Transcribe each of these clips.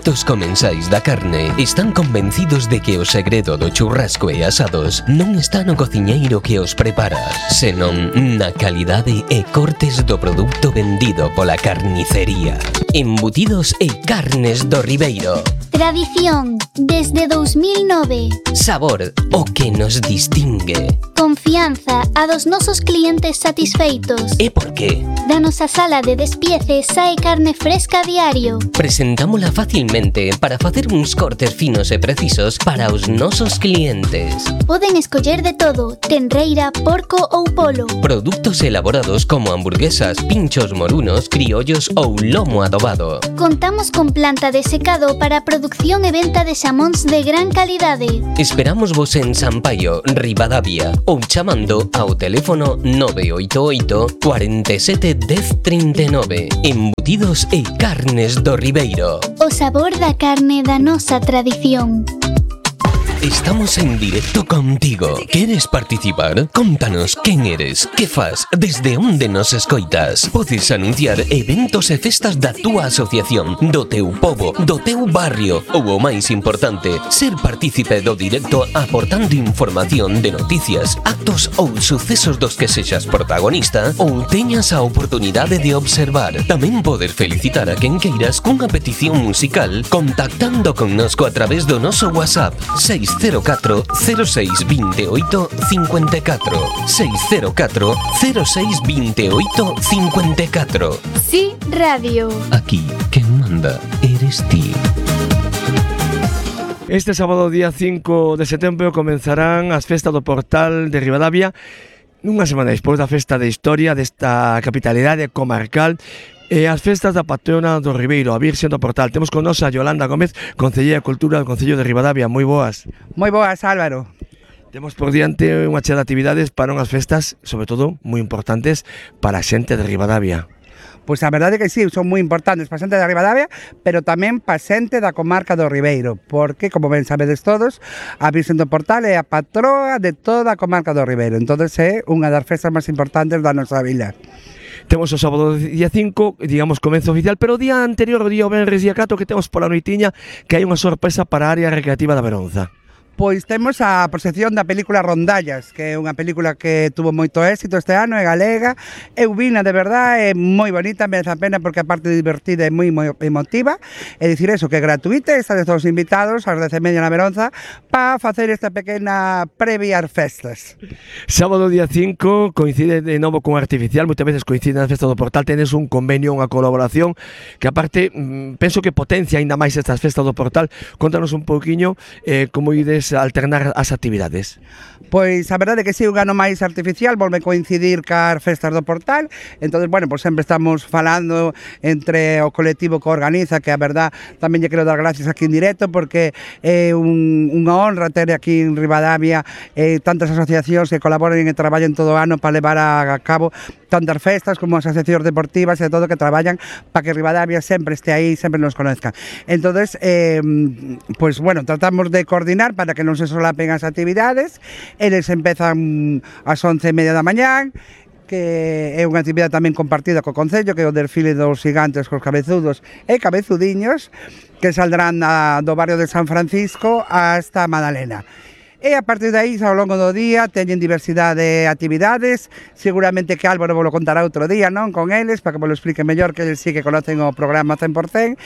adictos comensais da carne están convencidos de que o segredo do churrasco e asados non está no cociñeiro que os prepara, senón na calidade e cortes do produto vendido pola carnicería. Embutidos e carnes do Ribeiro. Tradición, desde 2009. Sabor, o que nos distingue. Confianza, a dos nosos clientes satisfeitos. E por qué? Da nosa sala de despiece sae carne fresca a diario. Presentámola facilmente para facer uns cortes finos e precisos para os nosos clientes. Poden escoller de todo, tenreira, porco ou polo. Produtos elaborados como hamburguesas, pinchos morunos, criollos ou lomo adobado. Contamos con planta de secado para producción e venta de xamóns de gran calidade. Esperamos vos en Sampaio, Ribadavia, ou chamando ao teléfono 988 47 10 39. Embutidos e carnes do Ribeiro. O sabor da carne da nosa tradición. Estamos en directo contigo. ¿Quieres participar? Contanos quen eres, que fas, desde onde nos escoitas. Podes anunciar eventos e festas da túa asociación, do teu pobo, do teu barrio ou, o máis importante, ser partícipe do directo aportando información de noticias, actos ou sucesos dos que sexas protagonista ou teñas a oportunidade de observar. Tamén poder felicitar a quen queiras cunha petición musical contactando connosco a través do noso WhatsApp 604 06 28 54 604 06 28 54. Sí, radio. Aquí, quen manda eres ti. Este sábado día 5 de setembro comenzarán as festas do Portal de Ribadavia, unha semana despois da festa de historia desta capitalidade comarcal e as festas da patrona do Ribeiro, a Virxen do Portal. Temos con nos a Yolanda Gómez, Concelleira de Cultura do Concello de Ribadavia. Moi boas. Moi boas, Álvaro. Temos por diante unha chea de actividades para unhas festas, sobre todo, moi importantes para a xente de Ribadavia. Pois a verdade que sí, son moi importantes para a xente de Ribadavia, pero tamén para a xente da comarca do Ribeiro, porque, como ben sabedes todos, a Virxen do Portal é a patroa de toda a comarca do Ribeiro. Entón é unha das festas máis importantes da nosa vila. Temos o sábado día 5, digamos, comenzo oficial, pero o día anterior, o día venres día 4, que temos pola noitiña, que hai unha sorpresa para a área recreativa da Beronza. Pois temos a proxección da película Rondallas, que é unha película que tuvo moito éxito este ano, é galega, eu vina de verdade, é moi bonita, merece a pena porque a parte divertida é moi emotiva, é dicir eso, que é gratuita, estades todos invitados ás 10:30 na Beronza para facer esta pequena previa ás festas. Sábado día 5 coincide de novo con Artificial, moitas veces coincide na festa do Portal, tenes un convenio, unha colaboración que aparte penso que potencia aínda máis estas festas do Portal. Contanos un pouquiño como ides alternar as actividades. Pois a verdade é que si, un ano máis Artificial volve coincidir cas festas do Portal. Entón, bueno, pois sempre estamos falando entre o colectivo que organiza, que a verdade tamén lle quero dar gracias aquí en directo, porque é unha honra ter aquí en Ribadavia tantas asociacións que colaboran e traballan todo o ano para levar a cabo tantas festas como as asociacións deportivas e todo, que traballan para que Ribadavia sempre este aí, sempre nos conozca. Entón, pois bueno, tratamos de coordinar para que non se solapen as actividades. Eles empezan ás 11:30 da mañán, que é unha actividade tamén compartida co Concello, que é o desfile dos gigantes cos cabezudos e cabezudiños, que saldrán do barrio de San Francisco hasta Madalena. E a partir de aí, ao longo do día, teñen diversidade de actividades. Seguramente que Álvaro vos lo contará outro día, non? Con eles, para que vos lo explique mellor, que eles sí que conocen o programa 100%.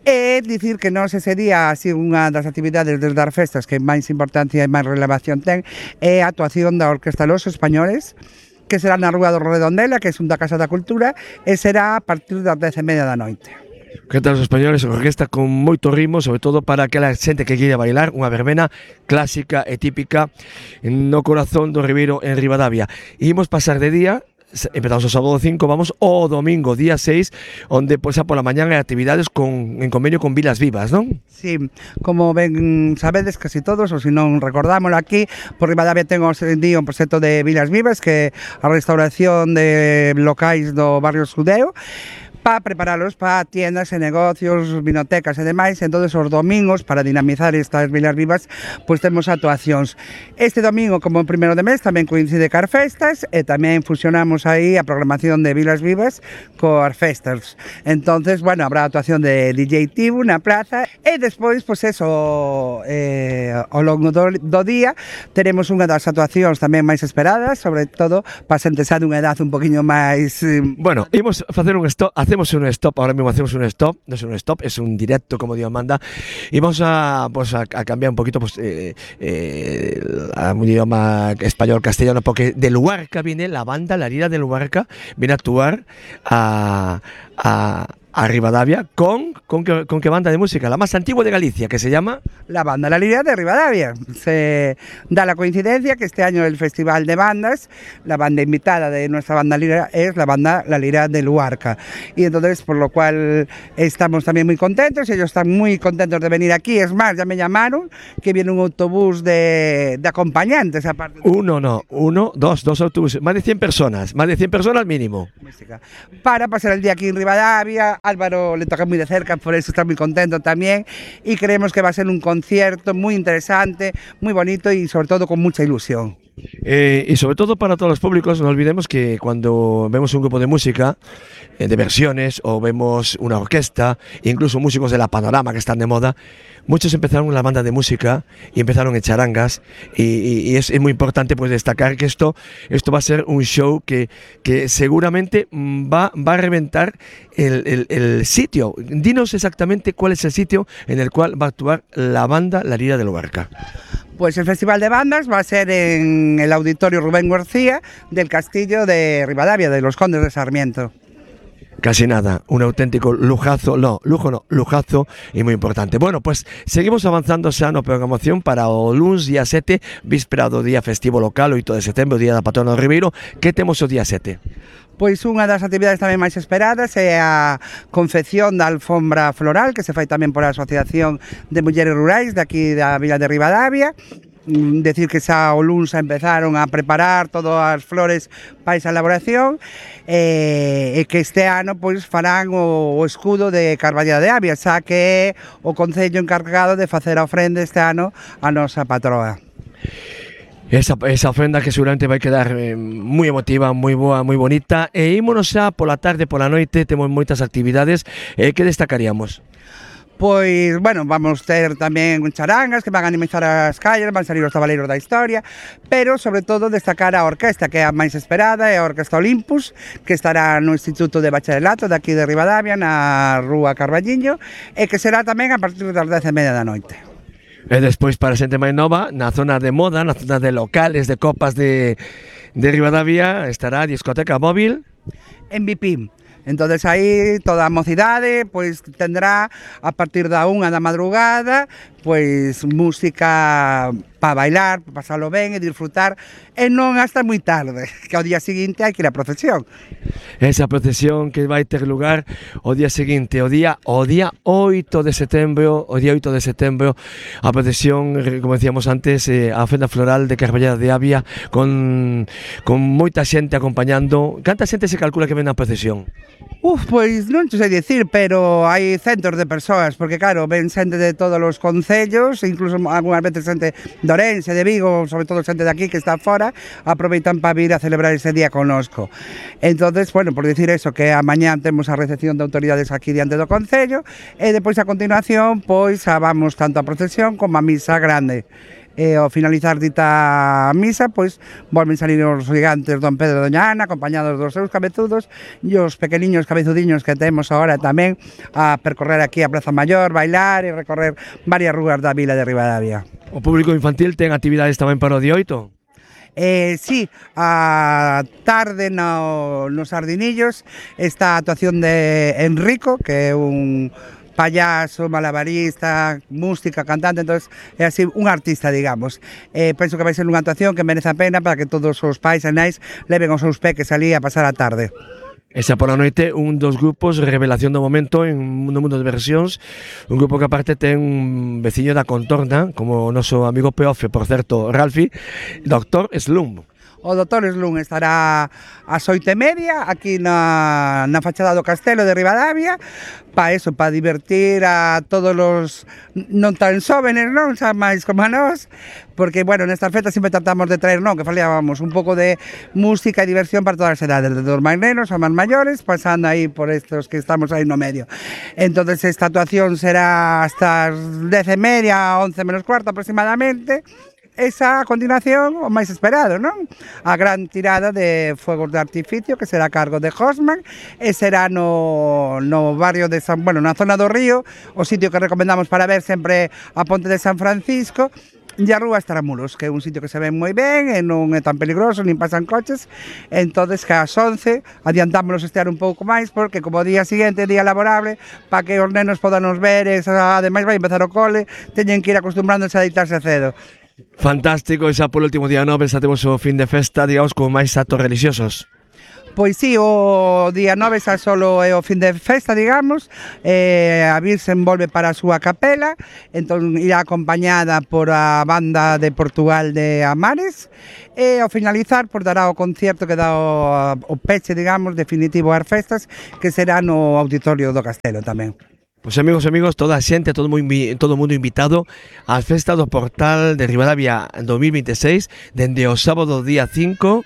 E dicir que nós ese día, así, unha das actividades desde as festas que máis importancia e máis relevación ten, é a actuación da Orquesta Los Españoles, que será na Rúa do Redondela, que é un da Casa da Cultura, e será a partir das 10:30 da noite. Que tal os españoles, a orquesta con moito ritmo, sobre todo para aquela xente que queira bailar, unha verbena clásica e típica no corazón do Ribeiro en Ribadavia. Imos pasar de día, empezamos o sábado 5, vamos o domingo día 6, onde pois a pola mañán hai actividades en convenio con Vilas Vivas, non? Sí, como ben sabedes casi todos, ou se non recordámoslo aquí, por Ribadavia ten un proxecto de Vilas Vivas, que é a restauración de locais do barrio Sudeo, para preparalos para tiendas e negocios, vinotecas e demais. Entonces os domingos, para dinamizar estas Vilas Vivas, pois temos actuacións. Este domingo, como o primeiro de mes, tamén coincide car festas e tamén fusionamos aí a programación de Vilas Vivas coas festas. Entonces, bueno, habrá actuación de DJ Tibu na plaza e despois, pois eso, ao longo do día teremos unha das actuacións tamén máis esperadas, sobre todo para xente xa dunha edad un poquinho máis... Bueno, imos facer un stop, hacemos un stop, ahora mismo hacemos un stop, no es un stop, es un directo, como digo Amanda, y vamos a cambiar un poquito a un idioma español, castellano, porque de Luarca viene la banda, la Lira de Luarca, viene a actuar a Rivadavia con qué banda de música, la más antigua de Galicia, que se llama... La banda La Lira de Rivadavia. Se da la coincidencia que este año el Festival de Bandas, la banda invitada de nuestra banda Lira es la banda La Lira de Luarca. Y entonces, por lo cual estamos también muy contentos, ellos están muy contentos de venir aquí. Es más, ya me llamaron que viene un autobús de acompañantes. Aparte dos autobuses, más de 100 personas mínimo. Para pasar el día aquí en Rivadavia. Álvaro le toca muy de cerca, por eso está muy contento también, y creemos que va a ser un concierto muy interesante, muy bonito y sobre todo con mucha ilusión. Y sobre todo para todos los públicos, no olvidemos que cuando vemos un grupo de música, de versiones, o vemos una orquesta, incluso músicos de la Panorama que están de moda, muchos empezaron en la banda de música y empezaron en charangas, y es muy importante pues destacar que esto va a ser un show que seguramente va a reventar el sitio. Dinos exactamente cuál es el sitio en el cual va a actuar la banda La Lira de Luarca. Pues el Festival de Bandas va a ser en el Auditorio Rubén García del Castillo de Rivadavia, de los Condes de Sarmiento. Casi nada, un auténtico lujazo y muy importante. Bueno, pues seguimos avanzando xa na programación para o luns día 7, víspera do día festivo local, 8 de setembro, día da patrona do Ribeiro. Que temos o día 7? Pois unha das actividades tamén máis esperadas é a confección da alfombra floral, que se fai tamén por a Asociación de Mulleres Rurais de aquí da Vila de Rivadavia. Decir que xa o luns empezaron a preparar todas as flores para esa elaboración, e que este ano pois farán o escudo de Carballeda de Avia, xa que é o concello encargado de facer a ofrenda este ano a nosa patroa. Esa ofrenda que seguramente vai quedar moi emotiva, moi boa, moi bonita. E ímonos xa pola tarde, pola noite, temos moitas actividades. Que destacaríamos? Pois, bueno, vamos ter tamén charangas que van a animizar as calles, van salir os tabaleiros da historia, pero, sobre todo, destacar a orquesta, que é a máis esperada, é a Orquesta Olympus, que estará no Instituto de Bacharelato de aquí de Rivadavia, na Rúa Carballiño, e que será tamén a partir das 10:30 da noite. E despois, para xente máis nova, na zona de moda, na zona de locales, de copas de Rivadavia, estará a discoteca móvil En Vipim. Entonces aí toda a mocidade pois tendrá a partir da 1 da madrugada pois música para bailar, para pasalo ben e disfrutar, e non hasta moi tarde, que ao día seguinte hai que ir a procesión. Esa procesión que vai ter lugar o día seguinte, o día 8 de setembro, a procesión, como decíamos antes, a ofrenda floral de Carballeda de Avia con moita xente acompañando. Canta xente se calcula que ven na procesión? Pois non te sei dicir, pero hai centos de persoas, porque claro, ven xente de todos os concellos, incluso algunhas veces xente de Ourense, de Vigo, sobre todo xente de aquí que está fora, aproveitan para vir a celebrar ese día connosco. Entonces, bueno, por dicir eso, que a mañá temos a recepción de autoridades aquí diante do concello, e depois a continuación, pois, vamos tanto a procesión como a misa grande. E ao finalizar dita misa, pois volven salir os gigantes Don Pedro e Doña Ana, acompañados dos seus cabezudos, e os pequeniños cabezudiños que temos agora tamén a percorrer aquí a Praza Maior, bailar e recorrer varias rúas da vila de Rivadavia. O público infantil ten actividades tamén para o día 8? Sí, a tarde nos Sardinillos está a actuación de Enrico, que é un payaso, malabarista, música, cantante, entonces é así un artista, digamos. Penso que vai ser unha actuación que merece a pena para que todos os pais e nais leven os seus peques ali a pasar a tarde. Esa pola noite, un dos grupos, revelación do momento en no mundo de versións, un grupo que aparte ten un veciño da contorna, como o noso amigo Peofe, por certo, Ralfi, Doctor Slump. O do Torres Lun estará ás 8:30 aquí na fachada do Castelo de Ribadavia, para eso, para divertir a todos os non tan xóvenes, non, xa máis como a nós, porque, bueno, nestas festas sempre tratamos de traer, non, que falábamos un pouco de música e diversión para todas as edades, desde os máis nenos aos máis maiores, pasando aí por estos que estamos aí no medio. Entonces esta actuación será hasta as 10:30, 11 menos cuarto aproximadamente. Esa, a continuación, o máis esperado, non? A gran tirada de fuegos de artificio, que será a cargo de Hosman, e será no barrio de San... Bueno, na zona do Río, o sitio que recomendamos para ver sempre a Ponte de San Francisco, e a Rúa Estramulos, que é un sitio que se ve moi ben, e non é tan peligroso, nin pasan coches. Entonces, que ás 11 adiantámonos estear un pouco máis, porque como día seguinte, día laborable, para que os nenos podan nos ver, ademais vai empezar o cole, teñen que ir acostumbrándose a deitarse cedo. Fantástico, e xa polo último día 9 xa temos o fin de festa, digamos, con máis actos religiosos. Pois sí, o día 9 xa solo é o fin de festa, digamos, a Virxen volve para a súa capela, entón irá acompañada por a banda de Portugal de Amares, e ao finalizar por dará o concierto que dá o peche, digamos, definitivo ás festas, que será no auditorio do Castelo tamén. Pois amigos, toda a xente, todo o mundo invitado ás festas do Portal de Ribadavia 2026, dende o sábado día 5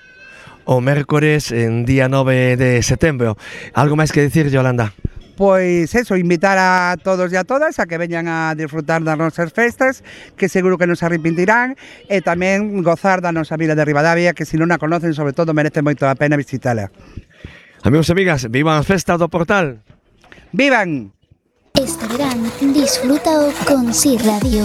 o mércores en día 9 de setembro. Algo máis que dicir, Yolanda? Pois eso, invitar a todos e a todas a que veñan a disfrutar das nosas festas, que seguro que nos arrepentirán, e tamén gozar da nosa vila de Ribadavia, que se non a conocen, sobre todo, merece moito a pena visitala. Amigos e amigas, vivan as festas do Portal! ¡Vivan! Este verán, disfrútao con Si Radio.